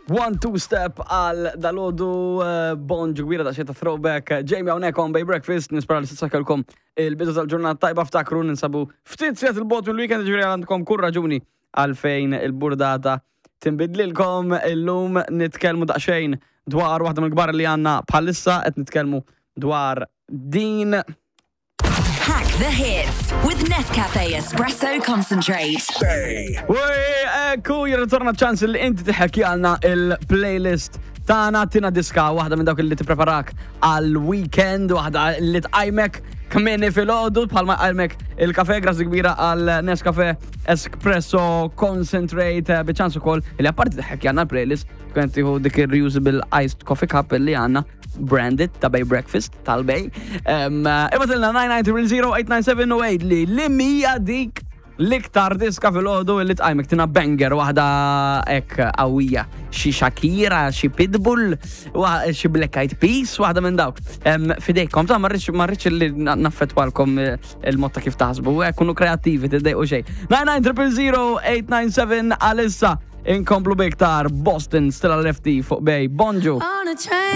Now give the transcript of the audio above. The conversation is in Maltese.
One, two step għal dalodu eh, bonġu kbira da xeta throwback. Jamie hawnhekk on Bay Breakfast, nispera li s-sakelkom il-bidu tal-ġurnata tajba ftakru ninsabu ftit sigħat il-bot mill-weekend ġifieri għandkom kull raġuni għalfejn il-burdata tinbidlilkom illum nitkellmu daqsxejn dwar waħda mill-kbar li għandna bħalissa qed nitkellmu dwar din Hack the hits with Nescafe Espresso Concentrate. Uy, ekku, jirritorna ċans li inti tiħek għalna il-playlist tagħna tina diska waħda minn dawk li tippreparak għal weekend, waħda li tqajmek kmieni filgħodu bħalma qajmek il-kafe grazzi kbira għal Nescafe Espresso Concentrate eh, biċans ukoll li apparti tiħek għalna l-playlist tkun tieħu dik il-reusable iced coffee cup li għandna branded ta' Bay Breakfast tal-Bay. Ibatilna 9900897 li li mija dik l-iktar diska fil-ħodu li tqajmek tina banger waħda ek qawwija. Xi Shakira, xi Pitbull, xi Black Eyed Peas, waħda minn dawk. Fidejkom, ta' marriċ li naffetwalkom eh, il-mod ta' kif taħsbu, eh, kunu kreattivi, tiddejqu xejn. 9900897 għalissa inkomplu biktar Boston Stella Lefty fuq Bay. Bonġu!